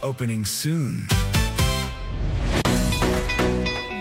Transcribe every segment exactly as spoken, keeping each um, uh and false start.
Opening soon.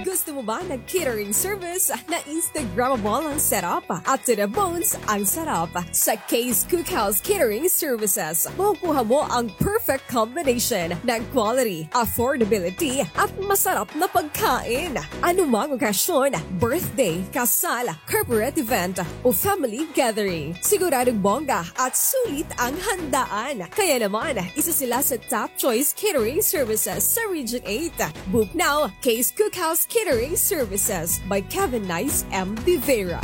Gusto mo ba ng catering service na Instagrammable ang setup at to the bones ang sarap? Sa Kay's Cookhouse Catering Services, makukuha mo ang perfect combination ng quality, affordability, at masarap na pagkain. Anumang okasyon, birthday, kasal, corporate event, o family gathering, siguradong bongga at sulit ang handaan. Kaya naman, isa sila sa top choice catering services sa Region eight. Book now, Kay's Cookhouse Catering Services by Kevin Nice M. De Vera.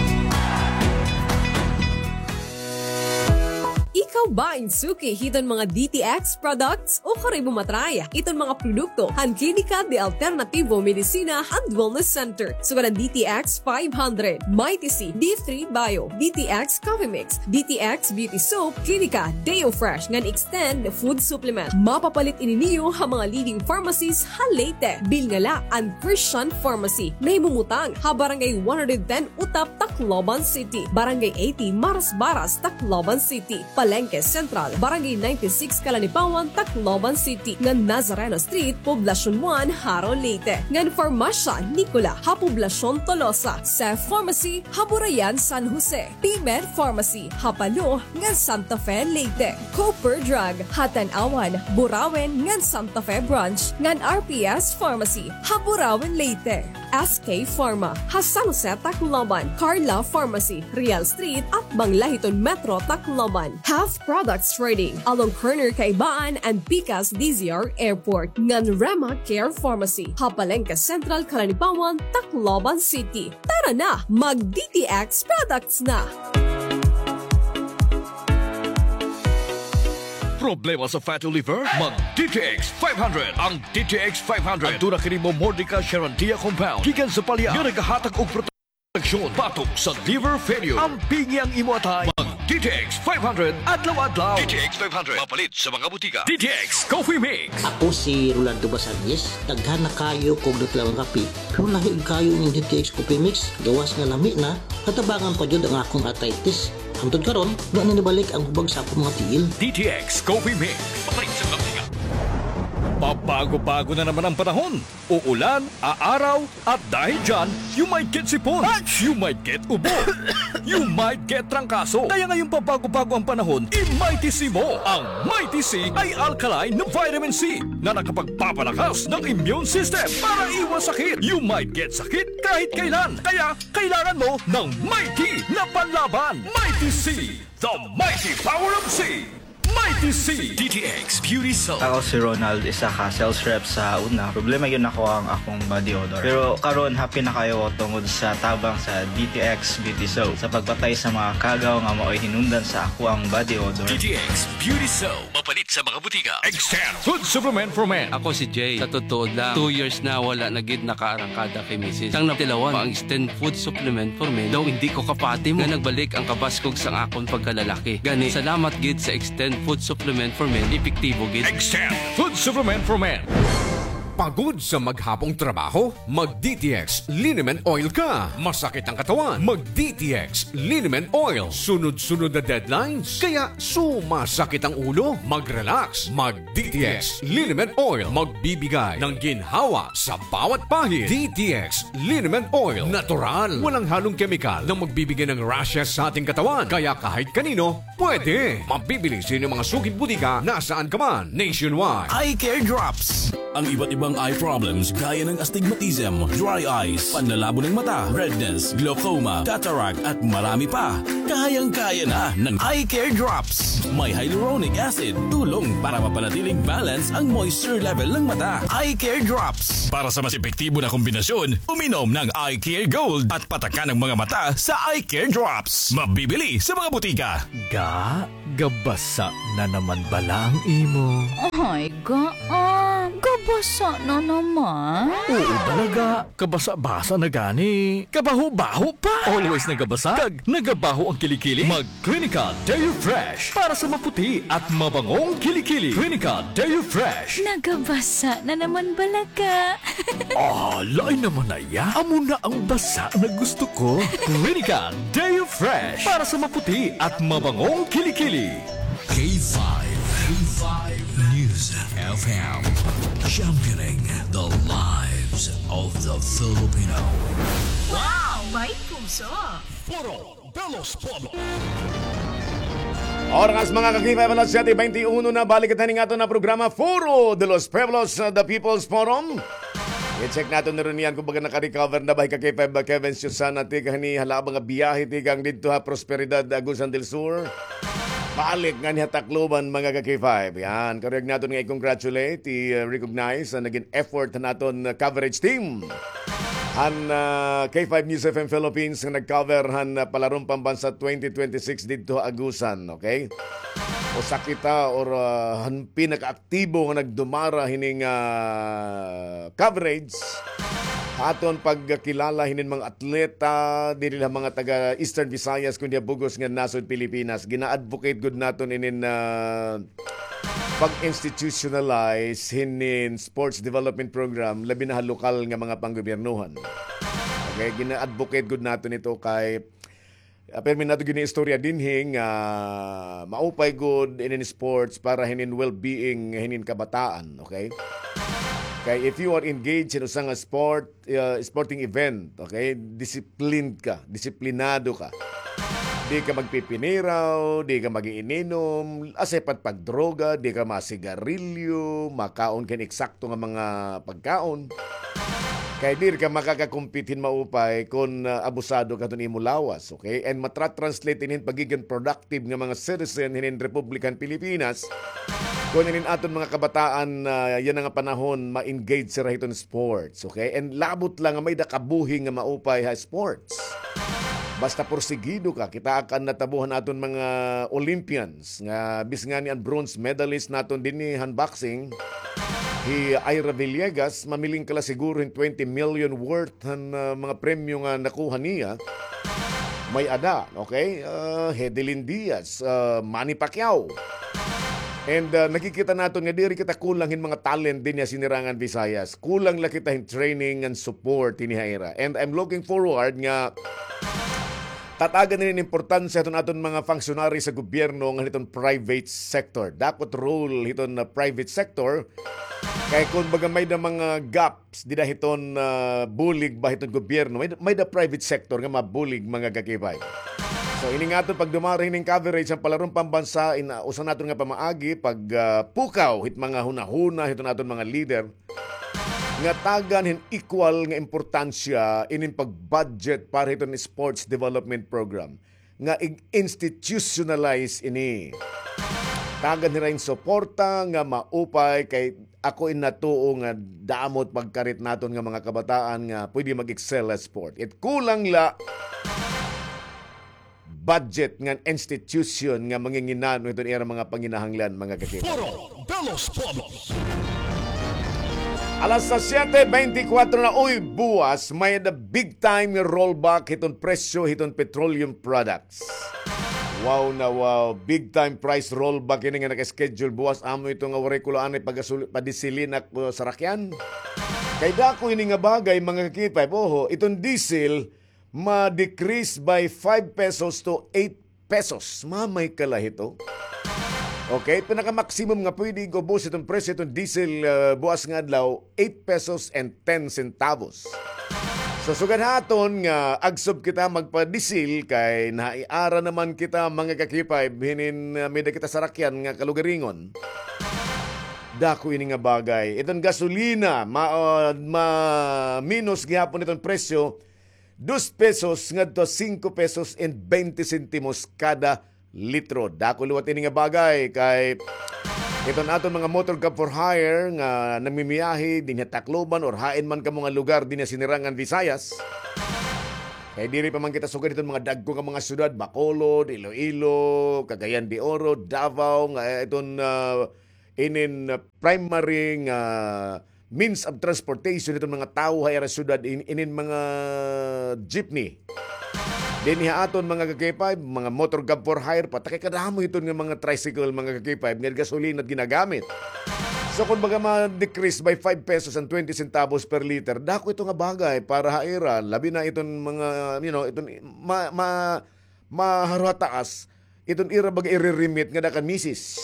Ikaw ba in suki hiton mga D T X products? Ukon kay mo matry iton mga produkto han Klinika de Alternativo Medicina and Wellness Center. Sugad an D T X five hundred, Mighty C, D three Bio, D T X Coffee Mix, D T X Beauty Soap, Klinika Deo Fresh ngan Extend Food Supplement. Mapapalit ini niyo ha mga leading pharmacies ha Leyte. Bilngala an Christian Pharmacy, nahimumutang ha Barangay one hundred ten Utap, Tacloban City, Barangay eighty Marasbaras, Tacloban City, Palengke Central, Barangay ninety-six Calanipawan, Tacloban City, ngan Nazareno Street, Poblacion one, Jaro, Leyte, ngan Farmasya Nicola ha Poblacion Tolosa, Seth Pharmacy ha Burayan, San Jose, P-Med Pharmacy ha Palo ngan Santa Fe, Leyte, Cooper Drug ha Tanauan, Burauen ngan Santa Fe Branch, ngan R P S Pharmacy ha Burauen, Leyte, S K Pharma ha San Jose, Tacloban, Carla Pharmacy, Real Street, atbang la hiton Metro Tacloban. Health Products Trading, along corner Kaibaan and pikas D Z R Airport, ngan Rema Care Pharmacy ha Palengke Central, Calanipawan, Tacloban City. Tara na, mag D T X products na! Problema sa fatty liver? Mag D T X five hundred. Ang D T X five hundred aduna kini Momordica charantia compound gikan sa palya nga nagahatag og proteksyon batok sa liver failure. Ampingi ang imo atay. Mag D T X five hundred adlaw-adlaw. D T X five hundred, mapalit sa mga butika. D T X Coffee Mix. Ako si Rolando Basangues. Daghan na kaayo ko og natlawan kape, pero lahi kaayo ining D T X Coffee Mix, gawas nga lami na, natabangan pa jud ang akon arthritis. Hangtod karon, wa na nibalik ang hubag sa akon mga tiil. D T X Coffee Mix. Papalit sa mga butika. Pabago-bago na naman ang panahon. Uulan, aaraw, at dahil dyan, you might get sipon, you might get ubo, you might get trangkaso. Kaya ngayong pabago-bago ang panahon, i-Mighty C mo. Ang Mighty C ay alkaline na vitamin C na nakapagpapalakas ng immune system para iwas sakit. You might get sakit kahit kailan. Kaya kailangan mo ng Mighty na panlaban. Mighty C, the mighty power of C. Mighty C. D T X Beauty Soap. Ako si Ronald, isa ka sales rep sa una. Problema gyud nako ang akong body odor. Pero karon, happy na kaayo ko tungod sa tabang sa D T X Beauty Soap sa pagpatay sa mga kagaw nga maoy hinungdan sa akoang body odor. D T X Beauty Soap. Mapalit sa mga butika. Extend Food Supplement for Men. Ako si Jay. Sa totoo lang, two years na wala na gid nakaarangkada kay misis. Sang natilawan pa ang Extend Food Supplement for Men, daw indi ko kapati mo nga nagbalik ang kabaskog sang akon pagkalalaki. Gani, salamat gid sa Extend Food Supplement for Men, epektibo gid. Extend Food Supplement for Men. Pagod sa maghapong trabaho? Mag D T X Liniment Oil ka. Masakit ang katawan? Mag D T X Liniment Oil. Sunod-sunod na deadlines? Kaya sumasakit ang ulo? Mag-relax. Mag D T X Liniment Oil. Magbibigay ng ginhawa sa bawat pahid. D T X Liniment Oil. Natural. Walang halong kemikal na magbibigay ng rashes sa ating katawan. Kaya kahit kanino, pwede. Mabibili sa inyong mga suking butika nasaan ka man, nationwide. Eye Care Drops. Ang iba't ibang eye problems gaya ng astigmatism, dry eyes, panlalabo ng mata, redness, glaucoma, cataract, at marami pa. Kayang-kaya na ng Eye Care Drops. May hyaluronic acid, tulong para mapanatiling balance ang moisture level ng mata. Eye Care Drops. Para sa mas epektibo na kombinasyon, uminom ng Eye Care Gold at patakan ang mga mata sa Eye Care Drops. Mabibili sa mga butika. Ga, gabasa na naman bala ang imo? Ay, ga, ah, gabasa na naman? Oo, bala, ga. Kabasa-basa na gani. Kabaho-baho pa. Always nagabasa kag nagabaho ang kilikili. Mag Clinical Deo Fresh para sa maputi at mabangong kilikili. Clinical Deo Fresh. Nagabasa na naman bala, ga. Ah, lain naman na iya. Amo na ang basa na gusto ko. Clinical Deo Fresh para sa maputi at mabangong kilikili. K five. K five News. F M, championing the lives of the Filipino. Wow! May puso! Foro de los Pueblos. Oras, mga ka-K five, alas siyete bente uno na. Balik kita ning aton na programa, Foro de los Pueblos, uh, the People's Forum. I-check naton na rin yan kung baga naka-recover na ba hi ka-K five, ba Kevin Susana, tikang hini halaba nga biyahe, tikang didto ha Prosperidad, Agusan del Sur. Balik nganhi ha Tacloban, mga ka-K five. Yan, karuyag naton nga i-congratulate, i-recognize an nagin effort han aton, uh, coverage team han, uh, K five News F M Philippines nga nag-cover han, uh, Palarong Pambansa twenty twenty-six didto ha Agusan, okay? Usa kita or, uh, han pinakaaktibo nga nagdumara hining, uh, coverage. Aton pagkilala hinin mga atleta, diri la mga taga Eastern Visayas, kundi ha bug-os nga nasod Pilipinas. Gina-advocate gud naton inin, ah, pag-institutionalize hinin sports development program, labi na ha lokal nga mga panggobyernohan. Okay, gina-advocate gud naton ito kay Ah, pirmi nato gini istorya dinhi nga maupay gud inin sports para hinin well-being hinin kabataan, okay? Kay if you are engaged in usa nga sport, uh, sporting event, okay? Disciplined ka, disiplinado ka. Di ka magpipiniraw, di ka mag-iininom, asay pa it pagdroga, di ka masigarilyo, makaon ka hin eksakto nga mga pagkaon. Kay diri ka makakakumpit hin maupay kon, ah, abusado ka hiton imo lawas, okay? And matra-translate ini hin pagigin productive nga mga citizen hinin Republika han Pilipinas kon inin aton mga kabataan, ah, yana nga panahon ma-engage sira hiton sports, okay? And labot la nga may-ada kabuhi nga maupay ha sports. Basta porsigido ka, kitaa ka an natabo han aton mga Olympians nga bisan ngani an bronze medalist naton dinhi han boxing, hi Ira Villegas, mamiling ka la siguro hin twenty million worth han, ah, mga premyo nga nakuha niya. May-ada, okay? Ah, Hedelin Diaz, ah, Manny Pacquiao. And, ah, nakikita naton nga diri kita kulang hin mga talent dinhi ha Sinirangan Visayas. Kulang la kita hin training and support dinhi ha ira. And I'm looking forward nga tatagan ini hin importansya hiton aton mga functionary sa gobyerno ngan hiton private sector. Dako it role hiton, ah, private sector. Kay kon baga may-ada mga gaps dida hiton, ah, bulig ba hiton gobyerno, may, may-ada private sector nga mabulig, mga ka-K five. So, ini nga aton pagdumara hinin coverage han Palarong Pambansa, in, ah, usa naton nga pamaagi, pag, ah, pukaw hit mga hunahuna hiton aton mga leader nga tagan hin equal nga importansya inin pag-budget para hiton sports development program nga ig-institutionalize ini. Tagan hira hin suporta nga maupay kay ako in natuo nga damo it pagkarit naton nga mga kabataan nga pwede mag-excel ha sport. It kulang la budget ngan institution nga manginginano hiton ira mga panginahanglan, mga ka-K five. Foro de los Pueblos. Alas siyete bente kuwatro na, uy, buwas, may-ada big time nga rollback hiton presyo hiton petroleum products. Wow na wow, big time price rollback ini nga naka-schedule buwas. Amo ito nga waray ko la anay pagasul-, padisilin ak, uh, sarakyan. Kay dako ini nga bagay, mga ka-K five, oho, iton diesel, ma-decrease by five pesos to eight pesos. Mamay ka la hito. Okay, pinaka-maximum nga pwede ig-ubos iton presyo iton diesel, ah, buwas nga adlaw, eight pesos and ten centavos. So, sugad ha aton nga agsob kita magpadisil kay naiara naman kita, mga ka-K five, hinin, ah, may-ada kita sarakyan nga kalugaringon. Dako ini nga bagay. Iton gasolina, ma-, ah, ma-minus gihapon iton presyo, dos pesos ngadto singko pesos and bente sentimos kada litro. Dako liwat ini nga bagay kay iton aton mga motor cab for hire nga namimiyahe dinhi ha Tacloban or hain man kamo nga lugar dinhi ha Sinirangan Visayas. Kay diri pa man kita sugad iton mga dagko nga mga syudad, Bacolod, Iloilo, Cagayan de Oro, Davao, nga, eh, iton, ah, inin, ah, primary nga means of transportation hiton mga tawo ha ira syudad, in-, inin mga jeepney. Dinhi ha aton mga ka-K five, mga motor cab for hire, pata kay kadamo hiton nga mga tricycle, mga ka-K five, nga gasolina it ginagamit. So, kon baga ma-decrease by five pesos and twenty centavos per liter, dako ito nga bagay para ha ira, labi na iton mga, you know, iton ma-, ma-, maharuhataas, iton ira baga ire-remit ngada kan misis.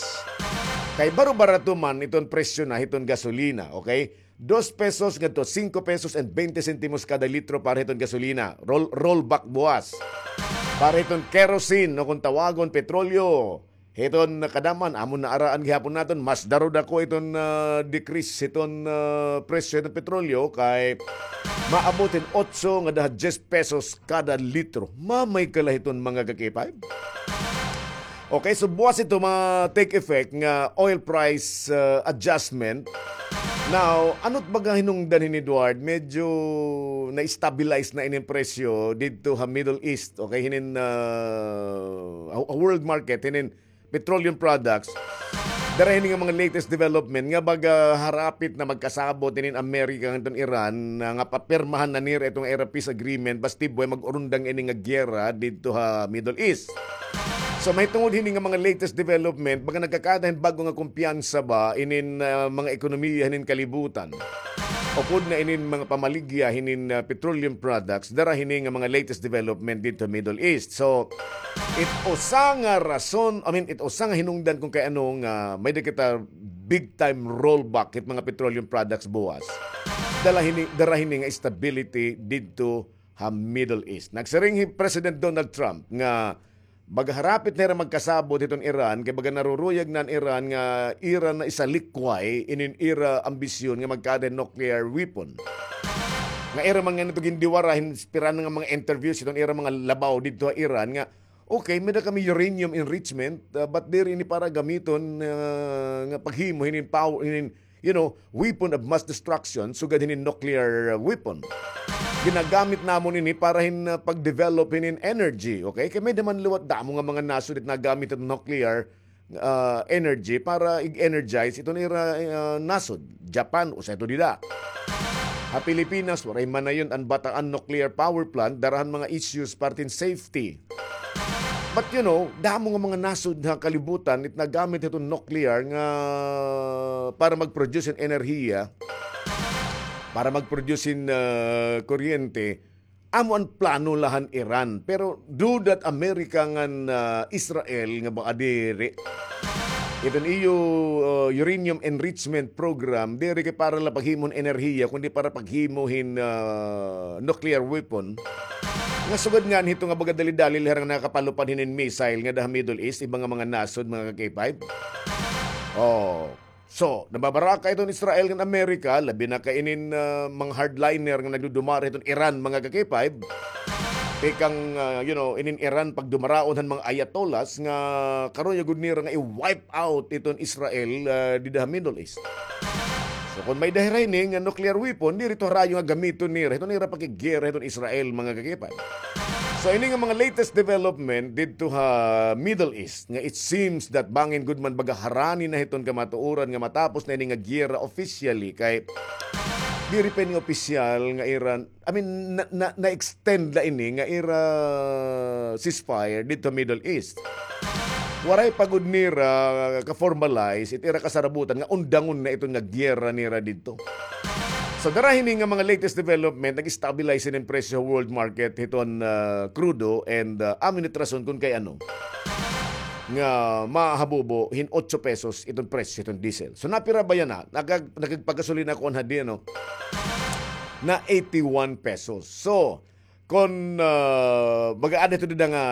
Kay baro-barato man iton presyo na hiton gasolina, okay? Dos pesos ngadto singko pesos and bente sentimos kada litro para hiton gasolina. Roll, rollback buwas. Para hiton kerosene, no, kung tawagon, petrolyo. Hiton kadaman, amo na araan gihapon naton, mas darudako iton, ah, decrease hiton, ah, presyo hiton petrolyo kay maabot hin otso ngada ha dyes pesos kada litro. Mamay kala hiton mga ka-K five. Okay, so buwas ito ma-take effect nga oil price, ah, adjustment. Now, ano't baga hinungdan hin Edward? Medyo na-stabilize na inin presyo didto ha Middle East. Okay, hinin, ah, ha, ha world market, hinin petroleum products. Dara hini nga mga latest development nga baga harapit na magkasabot hinin Amerika ngan hiton Iran, ah, nga papirmahan na nira iton ira peace agreement basti buhay mag-urundang ini nga giyera didto ha Middle East. So, mahitungod hini nga mga latest development, baga nagkakaada hin bag-o nga kumpiyansa ba inin, ah, mga ekonomiya hinin kalibutan. Upod na inin mga pamaligya hinin, ah, petroleum products, dara hini nga mga latest development didto ha Middle East. So, it usa nga rason, I mean, it usa nga hinungdan kung kay ano nga may-ada kita big time rollback hit mga petroleum products buwas. Dala hini, dara hini nga stability didto ha Middle East. Nagsiring hi President Donald Trump nga baga harapit na hira magkasabot hiton Iran, kay baga naruruyag na an Iran nga ira na isalikway inin ira ambisyon nga magkaada hin nuclear weapon. Nga ira man ngani ito gindiwara hin pira na nga mga interviews hiton ira mga labaw didto ha Iran nga, okay, may-ada kami uranium enrichment, ah, but diri ini para gamiton, ah, nga paghimo hinin power, hinin, you know, weapon of mass destruction, sugad hinin nuclear, ah, weapon. Ginagamit namon ini para hin, ah, pag-develop hinin energy, okay? Kay may-ada man liwat damo nga mga nasod it nagamit it nuclear, ah, energy para ig-energize iton ira, ah, nasod. Japan, usa ito dida. Ha Pilipinas, waray manayon an Bataan Nuclear Power Plant, dara han mga issues parte hin safety. But, you know, damo nga mga nasod ha kalibutan it nagamit hiton nuclear nga para mag-produce hin enerhiya, para mag-produce hin, ah, kuryente. Amo an plano la han Iran. Pero do that America ngan, ah, Israel nga baka diri iton iyo, ah, uranium enrichment program, diri kay para la paghimo hin enerhiya, kundi para paghimo hin, ah, nuclear weapon. Nga sugad ngani hito nga baga dali-dali la hira nga nakapalupad hinin missile ngada ha Middle East, iba nga mga nasod, mga ka-K five. Oh. So, nababaraka iton Israel ngan America, labi na kay inin, ah, mga hardliner nga nagdudumara hiton Iran, mga ka-K five. Tikang, ah, you know, inin Iran pagdumaraon han mga ayatollahs nga karuyag gud nira nga i-wipe out iton Israel, ah, dida ha Middle East. So, kon may-ada hira ini nga nuclear weapon, diri ito harayo nga gamiton nira hiton ira pakiggera hiton Israel, mga ka-K five. So, ini nga mga latest development didto ha Middle East, nga it seems that bangin gud man baga harani na hiton kamatuoran nga matapos na ini nga giyera officially, kay diri pa ini opisyal nga ira, I mean, na, na, na-extend la ini nga ira ceasefire didto Middle East. Waray pa gud nira ka-formalize it ira kasarabutan nga undangon na iton nga giyera nira didto. So, dara hini nga mga latest development, nag-stabilize ini an presyo world market hiton, ah, krudo and, ah, amo ini it rason kon kay ano nga mahabubo hin otso pesos iton presyo hiton diesel. So, napira ba yana? Nakag-, nakagpagasolina ako anhadi, ano? Na eighty-one pesos. So, kon, ah, baga ada ito dida nga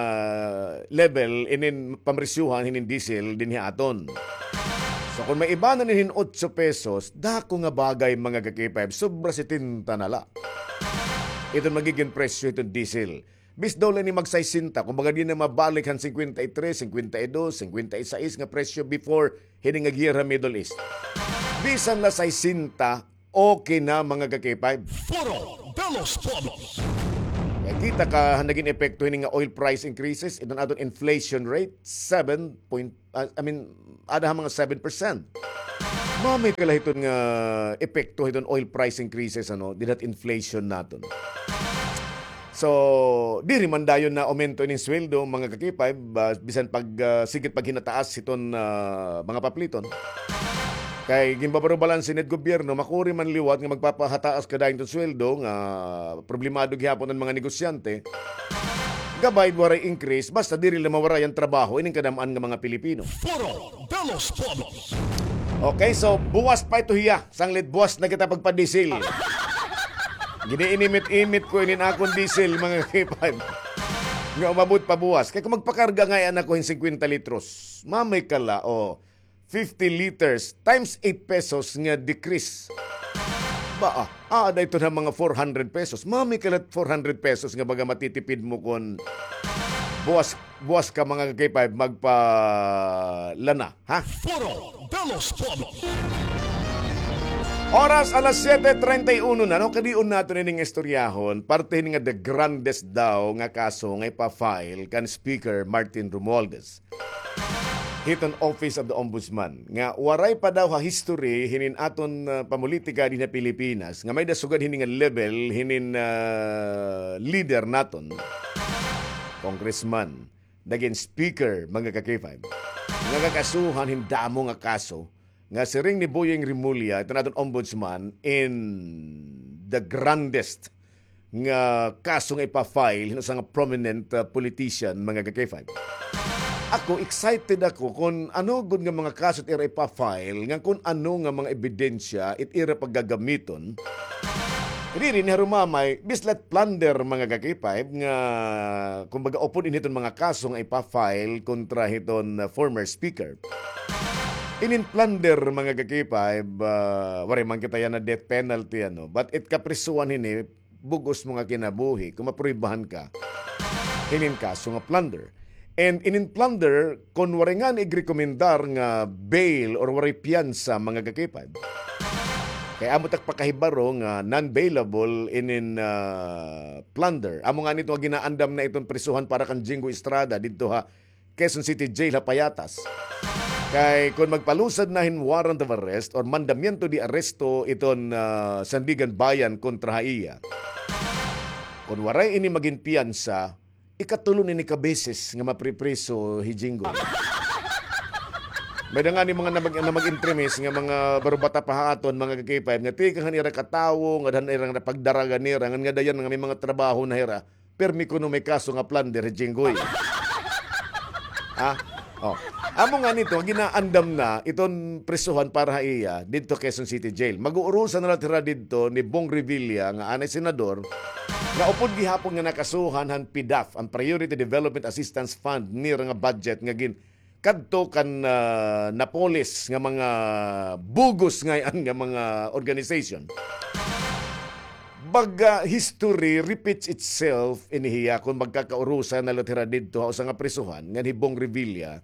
level inin pamresyuhan hinin diesel dinhi ha aton. So, kon maibanan ini hin otso pesos, dako nga bagay, mga ka-K five, sobra setenta na la iton magigin presyo hiton diesel. Bis daw la ini mag-sesenta, kumbaga di na mabalik han cincuenta y tres, cincuenta y dos, cincuenta y seis nga presyo before hini nga giyera Middle East. Bisan la sesenta, okay na, mga ka-K five. Foro de los Pueblos. Kay kita ka han nagin epekto hini nga oil price increases, iton aton inflation rate, seven point, ah, I mean, ada ha mga seven percent. Mamay kala hiton nga epekto hiton oil price increases, ano, dida ha inflation naton. So, diri man dayon na aumento inin sweldo, mga ka-K five, ah, bisan pag, ah, sigit paghinataas hiton, ah, mga papliton. Kay ginbabarubalanse nit gobyerno, makuri man liwat nga magpapahataas ka dayon hiton sweldo, nga problemado gihapon an mga negosyante. Gabay, waray increase, basta diri la mawaray an trabaho ining kadam-an nga mga Pilipino. Foro de los Pueblos. Okay, so buwas pa ito hiya. Sanglit buwas na kita pagpadisil. Giniinimit-imit ko inin akon diesel, mga K five. Nga umabot pa buwas. Kay kung magpakarga ngay-an ako hin singkwenta litros, mamay kala, o, fifty liters times eight pesos nga decrease. Ba, ah, ah, da ito na mga four hundred pesos. Mami kalat four hundred pesos nga baga matitipid mo kon buwas, buwas ka mga K five magpalana, ha? Foro de los Pueblos. Oras alas siete treinta y uno na, no? Kadion naton ining istoryahon, parte hini nga the grandest daw nga kaso nga ipa-file kan Speaker Martin Romualdez hiton Office of the Ombudsman, nga waray pa daw ha history hinin aton, ah, pamulitika dinhi ha Pilipinas, nga may-ada sugad hini nga level hinin, ah, leader naton, congressman, nagin speaker, mga ka-K five, nga kakasuhan hin damo nga kaso, nga siring ni Boying Remulla, iton aton ombudsman, in the grandest nga kaso nga ipa-file hin usa nga prominent, ah, politician, mga ka-K five. Ako, excited ako kon ano gud nga mga kaso it ira ipa-file, ngan kon ano nga mga ebidensya it ira paggagamiton. Diri ni harumamay, bislat plunder, mga ka-K five, nga kumbaga upod ini hiton mga kaso nga ipa-file kontra hiton, ah, former speaker. Inin plunder, mga ka-K five, ah, waray man kita yana death penalty, ano, but it kaprisohan hini, bug-os mo nga kinabuhi kon mapruwebahan ka hinin kaso nga plunder. And inin plunder, kon waray ngani igrekomendar nga bail or waray piyansa, mga ka-K five. Kay amo tak pakahibaro nga non-bailable inin, ah, plunder. Amo ngani ito nga ginaandam na iton prisohan para kan Jinggoy Estrada didto ha Quezon City Jail ha Payatas. Kay kon magpalusad na hin warrant of arrest or mandamiento de arresto iton, ah, Sandiganbayan kontra ha iya, kon waray ini magin piyansa, ikatulo na ini ka beses nga mapripriso hi Jinggoy. May-ada ngani mga namag-, namag-entremis nga mga barubata pa ha aton, mga ka-K five, nga tikang han ira katawo, ngada han ira nga pagdaragan nira, ngan ngada yana nga may mga trabaho na hira, pirmi kuno may kaso nga plunder hi Jinggoy. Ha? Oh. Amo ngani ito, ginaandam na iton prisohan para ha iya didto Quezon City Jail. Mag-uurusan na la hira didto ni Bong Revilla nga anay senador, nga upod gihapon nga nakasuhan han PDAF, an Priority Development Assistance Fund nira nga budget nga gin-, kadto kan, ah, napoles nga mga bug-os ngay-an nga mga organization. Baga history repeats itself ini hiya kon magkakaurusan na la hira didto ha usa nga prisohan ngan hi Bong Revilla.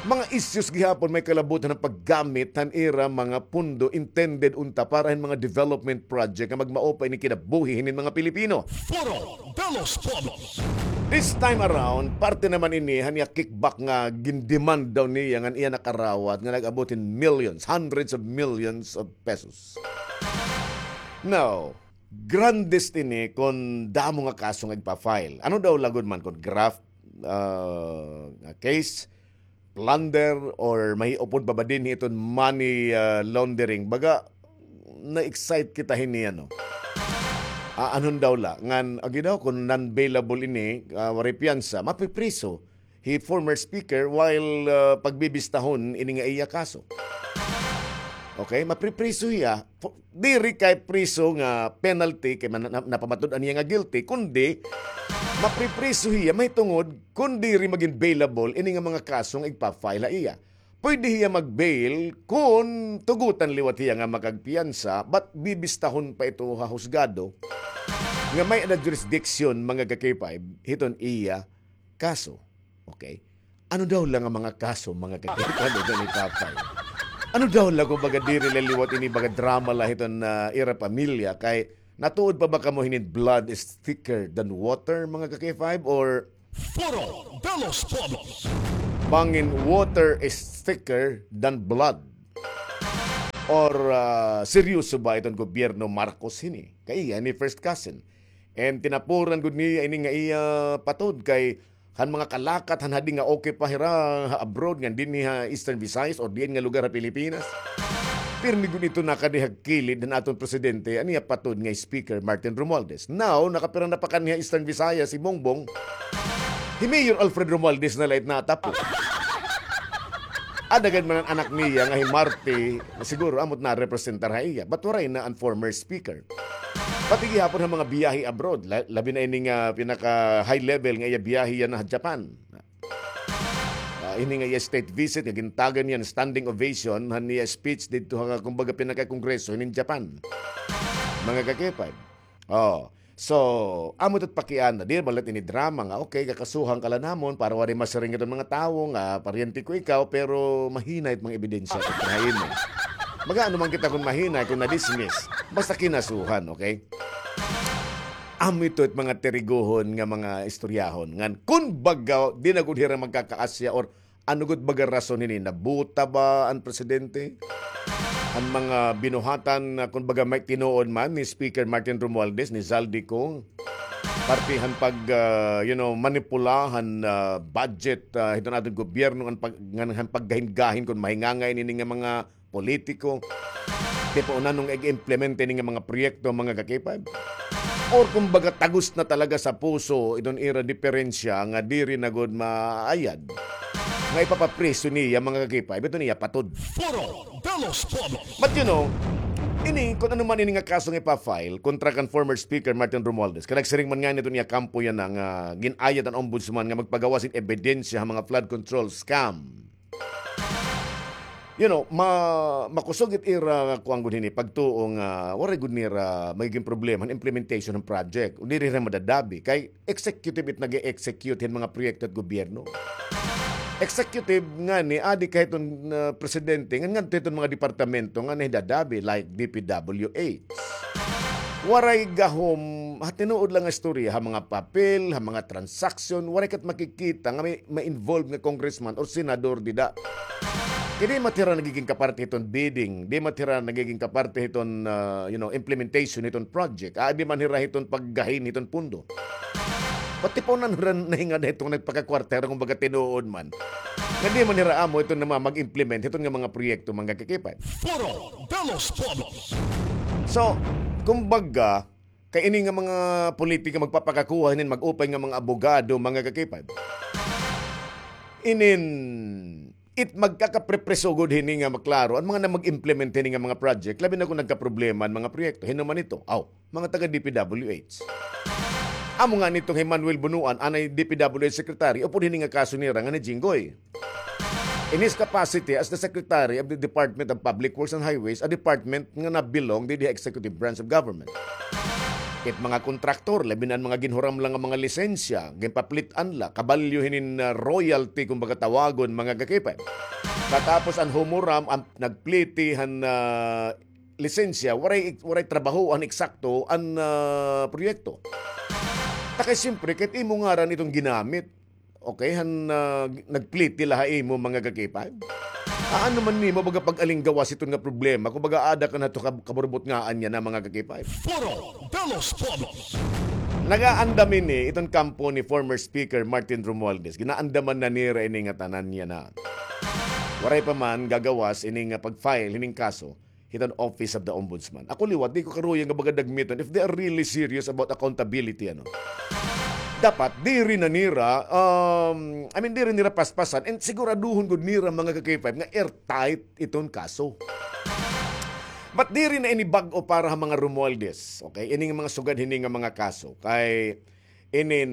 Mga issues gihapon may kalabutan han paggamit han ira mga pondo intended unta para hin mga development project nga magmao pa ini kinabuhi hinin mga Pilipino. Foro de los Pueblos. This time around, parte naman ini han iya kickback nga gin-demand daw niya ngan iya nakarawat nga nag-abot hin millions, hundreds of millions of pesos. Now, grandest ini kon damo nga kaso nga igpa-file. Ano daw la gud man kon graft, ah, nga case, plunder, or mahiupod pa ba dinhi iton money, ah, laundering? Baga, na-excite kita hini, ano. Ah, anhon daw la, ngan, agi daw, kon non-bailable ini, ah, waray piyansa, mapipriso hi former speaker while, ah, pagbibistahon ini nga iya kaso. Okay, mapripriso hiya. Fo-, diri kay priso nga penalty kay man-, na-, napamatud-an niya nga guilty, kundi mapripriso hiya mahitungod kon diri magin bailable ini nga mga kaso nga igpa-file ha iya. Pwede hiya mag-bail kon tugotan liwat hiya nga makagpiyansa, but bibistahon pa ito ha husgado nga may-ada jurisdiction, mga ka-K five, hiton iya kaso. Okay? Ano daw la nga mga kaso, mga ka-K five, ito ni Papay? Ano daw la, kumbaga, diri la liwat ini, baga, drama la hiton, ah, ira pamilya, kay natuod pa ba kamo hinin blood is thicker than water, mga ka-K five, or Foro de los Pueblos. Bangin water is thicker than blood? Or, ah, seryoso ba iton gobyerno Marcos hini? Kay iya ni first cousin. And tinapuran gud niya ini nga iya patod kay han mga kalakat han hadi nga okay pa hira ha abroad ngan dinhi ha Eastern Visayas or diin nga lugar ha Pilipinas. Pirmi gud ito nakadihag kilid han aton presidente, an iya patod nga Speaker Martin Romualdez. Now, nakapira na pa kaniya Eastern Visayas si Bongbong. Hi Mayor Alfred Romualdez na la it natapo. Ada gad man an anak niya nga hi Marti, siguro amo it narepresentar ha iya. But waray na an former speaker. Pati gihapon ha mga biyahe abroad, la-, labi na ini nga pinaka high level nga iya biyahe yana ha Japan. Ah, ini nga iya state visit nga gintagan niya hin standing ovation han iya speech didto ha, kumbaga, pinaka-kongreso hinin Japan. Mga ka-K five. Oh. So, amo ito it pakiana. Di ba la ini drama nga, okay, kakasuhan ka la namon para waray masiring iton mga tawo nga paryente ko ikaw, pero mahinay it mga ebidensya kontra ha imo. Mag-aano man kita kon mahinay, kon na-dismiss. Basta kinasuhan, okay? Amo ito it mga tirigohon nga mga istoryahon. Ngan, kun baga, di na gud hira magkakaasya or ano gud baga rason hini? Nabuta ba an presidente? An mga binuhatan, ah, kun baga, may tinuod man ni Speaker Martin Romualdez, ni Zaldy Cong, parte han pag, ah, you know, manipula han, ah, budget, ah, hiton aton gobyerno, an pag-, ngan han paggahin-gahin kon mahingangay ini nga mga politiko. Tipo, unanong ig-implement ini nga mga proyekto, mga ka-K five? Or kumbaga, tagus na talaga sa puso iton ira diperensya nga diri na gud maayad nga ipapapriso niya, mga ka-K five, iton iya patod. Foro de los Pueblos. But you know, ini, kun ano man ini nga kaso nga ipa-file kontra kan former Speaker Martin Romualdez, kay nagsiring man ngani iton iya kampo yana nga gin-ayad an ombudsman nga magpagawas hin ebidensya ha mga flood control scam. You know, ma-, makusog it ira, kuan gud hini, pagtuo nga waray gud nira magigin problema an implementation han project. O diri hira madadabi kay executive it nag-e-execute hin mga proyekto hit gobyerno. Executive ngani, adi ka hiton, ah, presidente, ngan ngadto hiton mga departamento nga nahidadabi, like D P W H. Waray gahom, ha tinuod la nga istorya, ha mga papel, ha mga transaksyon, waray kat makikita nga may ma-involve nga congressman or senador dida. Kay di man hira nagigin kaparte hiton bidding, di man hira nagigin kaparte hiton, ah, you know, implementation hiton project. Ah, di man hira hiton paggahin hiton pundo. Pati pa unan hira nahingad hiton nagpakakwarta hira, kumbaga, tinuod man. Nga di man hira amo hiton nga mag-implement hiton nga mga proyekto, mga ka-K five. Foro de los Pueblos. So, kumbaga, kay ini nga mga politika magpapakakuha hinin mag-upay nga mga abogado, mga ka-K five. Inin, it magkakaprepreso gud hini nga maklaro an mga na mag-implement hini nga mga project, labi na kon nagkaproblema an mga proyekto. Hin-o man ito? Aw, mga taga D P W H. Amo ngani itong hi Manuel Bonoan, anay D P W H secretary, upod hini nga kaso nira nga ni Jinggoy. In his capacity as the Secretary of the Department of Public Works and Highways, a department nga na-belong didi ha executive branch of government. It mga kontraktor, labi na an mga ginhuram la nga mga lisensya, ginpaplit-an la, kabalyo hinin, ah, royalty, kumbaga, tawagon, mga ka-K five. Katapos an humuram, an nagpliti han, ah, lisensya, waray, waray trabaho an eksakto an, ah, proyekto. Ta kay siyempre, kay it imo ngaran iton ginamit. Okay, han, ah, nagpliti la ha imo, mga ka-K five. Aano man nimo baga pag-alinggawas hiton nga problema, kumbaga, ada ka na to kab-, kaburbot nga anya na, mga ka-K five. Foro de los Pueblos. Nagaandam ini iton kampo ni former Speaker Martin Romualdez. Ginaandaman na nira ini nga tanan niya na. Waray pa man gagawas ini nga pag-file hining kaso hiton Office of the Ombudsman. Ako liwat, di ko karuya nga baga dagmiton if they are really serious about accountability, ano. Dapat, diri na nira, um, I mean, diri nira paspasan, and siguraduhon gud nira, mga ka-K five, nga airtight iton kaso. But diri na ini bag-o para ha mga Romualdez, okay? Ini nga mga sugad hini nga mga kaso. Kay, inin,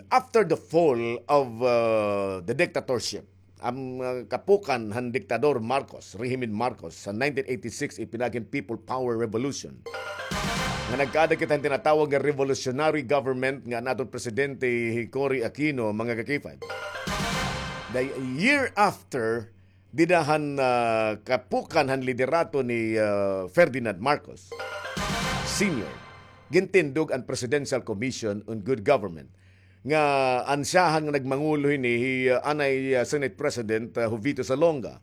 after the fall of, uh, the dictatorship, an, uh, kapukan han diktador Marcos, rehimen Marcos, sa nineteen eighty-six, ipinagin People Power Revolution, nga nagkaada kita han tinatawag nga revolutionary government nga an aton presidente hi Cory Aquino, mga ka-K five. The year after, dida han, ah, kapukan han liderato ni, ah, Ferdinand Marcos Senior, gintindog an Presidential Commission on Good Government. Nga an siyahan nga nagmangulo hini, hi, ah, anay, ah, Senate President, ah, Jovito Salonga,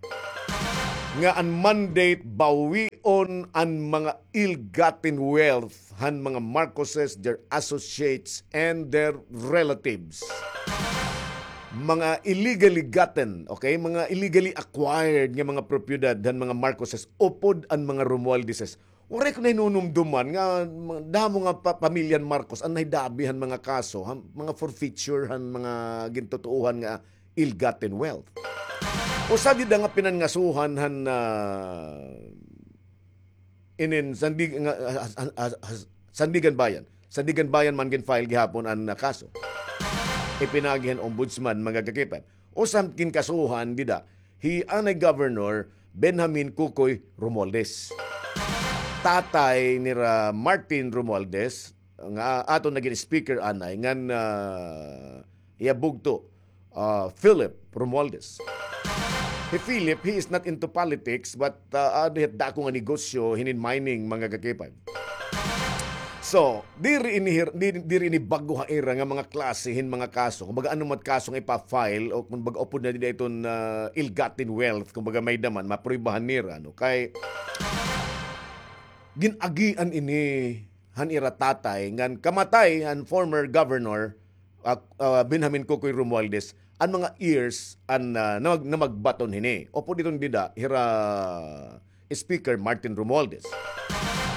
nga an mandate bawion an mga ill-gotten wealth han mga Marcoses, their associates, and their relatives. mga illegally gotten, okay? Mga illegally acquired nga mga propiedad han mga Marcoses upod an mga Romualdeses. Waray ko nahinunumduman nga ma-, damo nga pa-, pamilya han Marcos an nahidabi han mga kaso, han mga forfeiture, han mga gintutuohan nga ill-gotten wealth. Usa dida nga pinangasuhan han, ah, inin Sandig-, nga, ah, ah, ah, ah, Sandiganbayan. Sandiganbayan man gin-file gihapon an, ah, kaso. Ipinagi han ombudsman, mga kakipan. Usa han ginkasuhan dida, hi anay Governor Benjamin Kukoy Romualdez. Tatay nira Martin Romualdez, nga aton nagin speaker anay, ngan, ah, iya bugto, ah, Philip Romualdez. Hi Philip, he is not into politics, but, ah, adi hit dako nga negosyo hinin mining, mga kakipan. So, diri ini hir-, di-, diri ini bag-o ha ira nga mga klase hin mga kaso. Kumbaga, ano man kaso nga ipa-file, o kumbaga, upod na dida iton, ah, ill-gotten wealth, kumbaga, may-ada man, mapruebahan nira, no? Kay, gin-agian ini han ira tatay, ngan kamatay han former governor, ah, ah, Benjamin Kukoy Romualdez, an mga heirs an, ah, namag-, namagbaton hini. Upod iton dida, hira Speaker Martin Romualdez.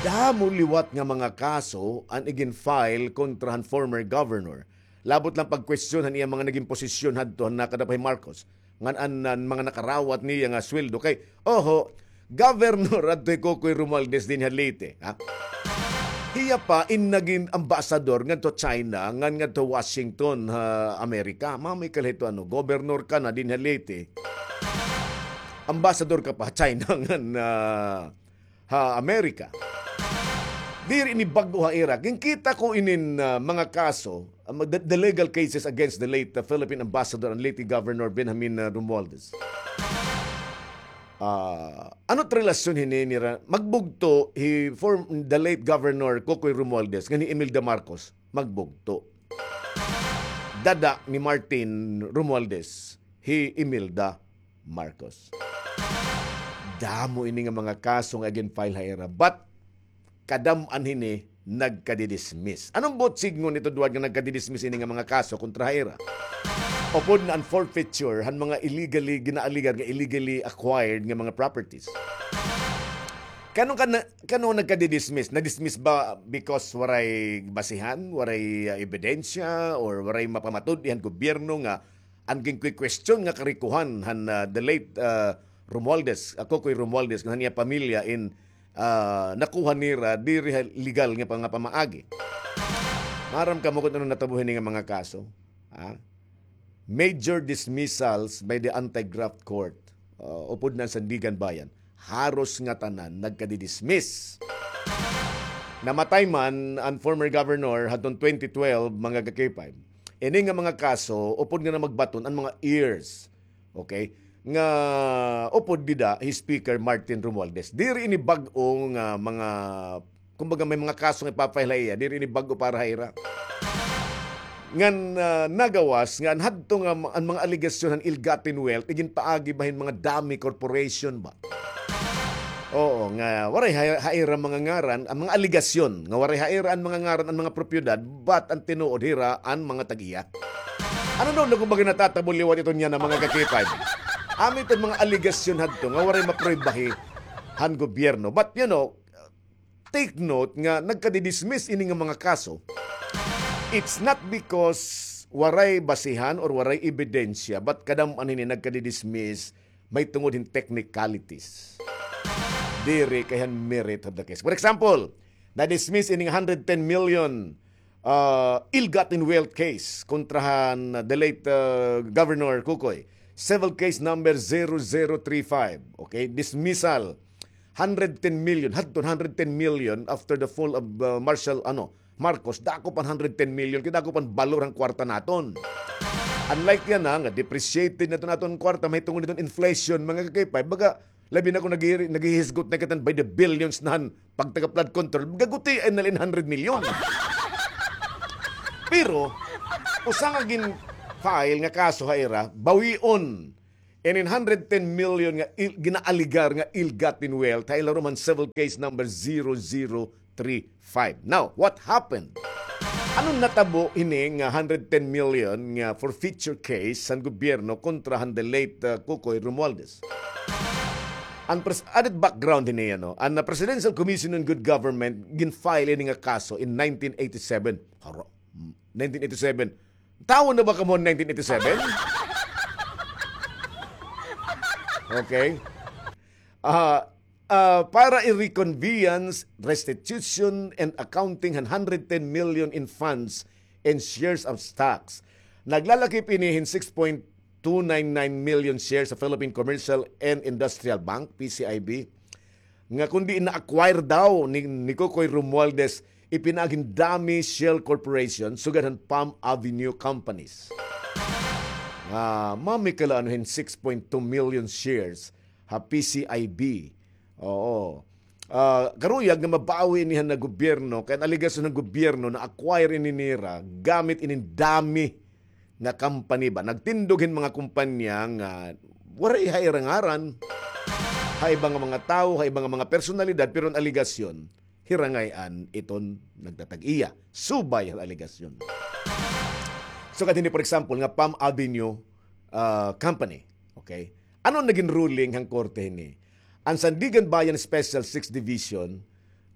Damo liwat nga mga kaso an igin-file kontra han former governor. Labot la pagkwestiyon han iya mga nagin posisyon hadto han nakadapay Marcos. Ngan an, an mga nakarawat niya nga sweldo kay, oho, governor adto hi Kukoy Romualdez dinhi ha Leyte, ha? Hiya pa in nagin ambasador ngadto China, ngan ngadto Washington, ha Amerika. Mao may kalahito, ano, governor ka na dinhi ha Leyte. Ambasador ka pa ha China, ngan, ah, ha Amerika. Diri ini bag-o ha ira. Ginkita ko inin, ah, mga kaso, ah, the, the legal cases against the late, ah, Philippine ambassador and late Governor Benjamin, ah, Romualdez. Ah, ano it relasyon hini nira? Magbugto hi form-, the late Governor Kukoy Romualdez ngan hi Imelda Marcos. Magbugto. Dada ni Martin Romualdez hi Imelda Marcos. Damo ini nga mga kaso nga gin-file ha ira. But, kadam-an hini nagkadidismiss. Ano it buot sidngon nito, Duwad, nga nagkadidismiss ini nga mga kaso kontra ha ira? Upod na an forfeiture han mga illegally, ginaaligar nga illegally acquired nga mga properties. Kano ka na, kano nagkadidismiss? Nadismiss ba because waray basihan, waray, ah, ebidensya, or waray mapamatud-i han gobyerno nga an ginkwi-question nga karikohan han, ah, the late, ah, Romualdez, ah, Kukoy Romualdez, ngan han iya pamilya in, ah, nakuha nira diri ha legal nga panga-, pamaagi. Maaram kamo kon ano natabo hini nga mga kaso? Ha? Major dismissals by the anti-graft court. Ah, upod na an Sandiganbayan. Haros ngatanan nagkadidismiss. Namatay man an former governor hadton twenty twelve, mga ka-K five. Ini nga mga kaso, upod nga namagbaton an mga heirs. Okay? Nga upod dida hi Speaker Martin Romualdez. Diri ini bag-o nga mga, kumbaga, may mga kaso nga ipa-file ha iya. Diri ini bag-o para ha ira. Ngan, ah, nagawas nga an hadto nga ma-, an mga alegasyon han ill-gotten wealth, iginpaagi ba hin mga dami corporation ba? Oo, nga waray ha, ha ira mga ngaran, an mga alegasyon, nga waray ha ira an mga ngaran, an mga propiedad, but an tinuod hira an mga tag-iya. Ano daw na kumbaga natatabo liwat iton yana, mga ka-K five? Amo iton mga alegasyon hadto nga waray mapruebahi han gobyerno. But, you know, take note nga nagkadidismiss ini nga mga kaso. It's not because waray basihan or waray ebidensya, but kadam-an hini nagkadidismiss mahitungod hin technicalities. Diri kay han merit of the case. For example, na-dismiss ini nga hundred ten million, ah, ill-gotten wealth case kontra han the late, ah, Governor Kukoy. Civil case number zero zero three five. Okay, dismissal. Hundred ten million, hadton hundred ten million after the fall of, ah, Marshal, ano, Marcos, dako pa an hundred ten million, kay dako pa an balor han kwarta naton. Unlike yana, nga depreciated na iton aton kwarta, mahitungod hiton inflation, mga ka-K five, baga, labi na kon naghi-, naghihisgot na kita hin by the billions na han pagtaga flood control, gagutian na la in hundred million. Pero, usa nga gin-file nga kaso ha ira, bawion. Inin hundred ten million nga il-, ginaaligar nga ill-gotten wealth, ha ilarom han civil case number zero zero three five. Now, what happened? Ano natabo hini nga hundred ten million nga forfeiture case han gobyerno kontra han the late, uh, Kokoy Romualdez? An pres-, added background hini, ano, an, uh, Presidential Commission on Good Government gin-file ini nga kaso in nineteen eighty-seven. Haro, nineteen eighty-seven. Tawo na ba kamo nineteen eighty-seven? Okay. Ah, ah, para i-reconveyance, restitution, and accounting han hundred ten million in funds and shares of stocks. Naglalakip ini hin six point two nine nine million shares sa Philippine Commercial and Industrial Bank, P C I B, nga kundi na-acquire daw ni, ni Kokoy Romualdez, ipinaagi hin Dami Shell Corporation, sugad han Palm Avenue Companies. Nga, mami kala ano hin six point two million shares ha P C I B. Oo. Ah, karuyag nga mabawi ini han gobyerno, kay an alegasyon han gobyerno na-acquire ini nira gamit ini Dami nga company ba. Nagtindog hin mga kumpanya nga waray ha ira ngaran. Ha iba nga mga tawo, ha iba nga mga personalidad, pero an alegasyon, hira ngay-an iton nagtatag-iya. Subay han alegasyon. So, katini, for example, nga Palm Avenue, ah, Company. Okay? Ano nagin ruling han korte hini? An Sandiganbayan Special Six Division,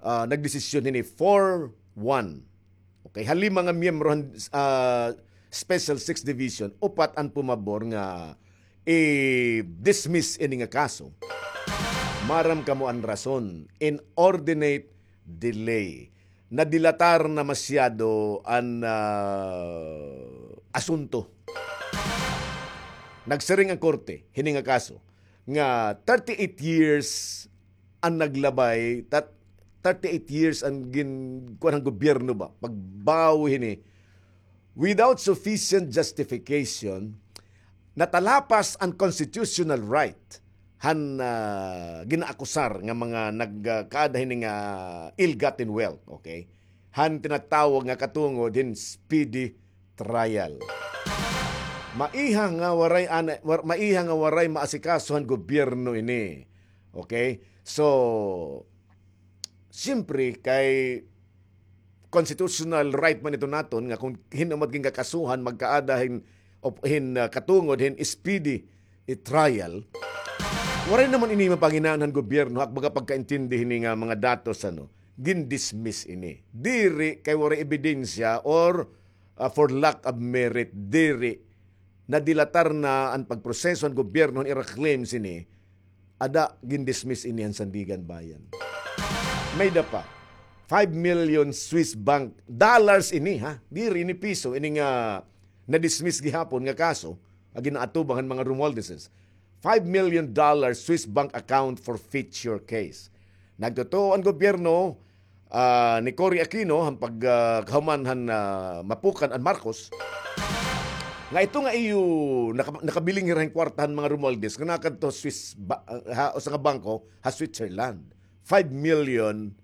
ah, nagdesisyon hini four one. Okay, ha lima nga miyembro han, ah, Special Six Division, upat an pumabor nga i-dismiss ini nga kaso. Maaram kamo an rason, inordinate delay. Nadilatar na masyado an, ah, asunto. Nagsiring an korte hini nga kaso nga thirty-eight years an naglabay, tat-, thirty-eight years an gin-, kuan han gobyerno ba, pagbawi hini, without sufficient justification, natalapas an constitutional right han, ah, ginaakusar nga mga nagkaada hini nga ill-gotten wealth, okay? Han tinatawag nga katungod hin speedy trial. Maiha nga waray ana-, war-, maiha nga waray maasikaso han gobyerno ini. Okay? So, siyempre, kay constitutional right man ito naton nga kung hin-o man gin kakasuhan, magkaada hin, op-, hin, ah, katungod hin speedy, eh, trial, waray naman ini mapanginaan han gobyerno, ha ak baga pagkaintindi hini nga mga datos, ano, gin-dismiss ini. Diri kay waray ebidensya or, ah, for lack of merit, diri. Nadilatar na an pagproseso han gobyerno han ira claims ini, ada gin-dismiss ini han Sandiganbayan. May-ada pa, five million Swiss bank dollars ini, ha? Diri ini piso, ini nga na-dismiss gihapon nga kaso, nga ginaatubang han mga Romualdezes. Five million dollar Swiss bank account forfeiture case. Nagtotoo an gobyerno, ah, ni Cory Aquino, han pag, ah, kahuman han, ah, mapukan an Marcos, nga ito nga iyo naka-, nakabiling hira hin kwarta han mga Romualdez, nga nakadto Swiss ba-, ha, usa nga bangko, ha Switzerland. Five million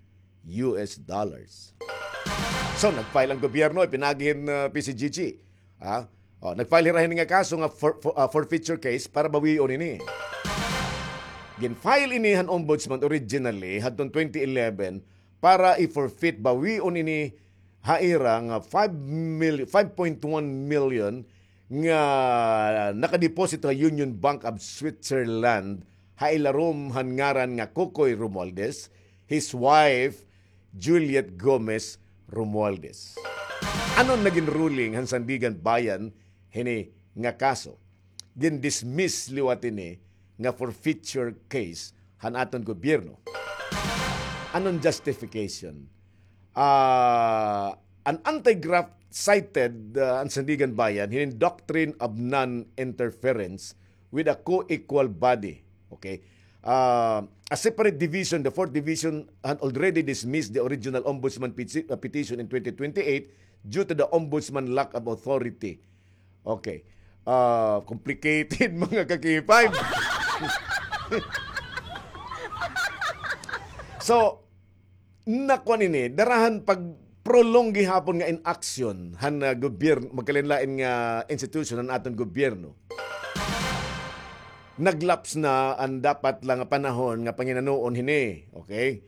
U S dollars. So, nag-file an gobyerno, ipinaagi hin, ah, P C G G. Ha? O, nag-file hira hini nga kaso nga for, for, ah, forfeiture case para bawion ini. Gin-file ini han ombudsman originally hadton twenty eleven para i-forfeit, bawion ini ha ira nga five mil-, five point one million nga nakadeposito ha Union Bank of Switzerland ha ilarom han ngaran nga Kokoy Romualdez, his wife, Juliet Gomez Romualdez. Ano an nagin ruling han Sandiganbayan hini nga kaso? Gin-dismiss liwat ini nga forfeiture case han aton gobyerno. Ano an justification? Ah, an anti-graft cited, ah, an Sandiganbayan hinin doctrine of non-interference with a co-equal body. Okay? Ah, a separate division, the fourth division, had already dismissed the original ombudsman peti-, uh, petition in twenty twenty-eight due to the ombudsman lack of authority. Okay. Ah, complicated, mga ka-K five. So, nakuan ini, dara han pag-prolong gihapon nga inaction han, ah, gobyerno, magkalain-lain nga institution han aton gobyerno. Nag-lapse na an dapat la nga panahon nga panginanuon hini, okay?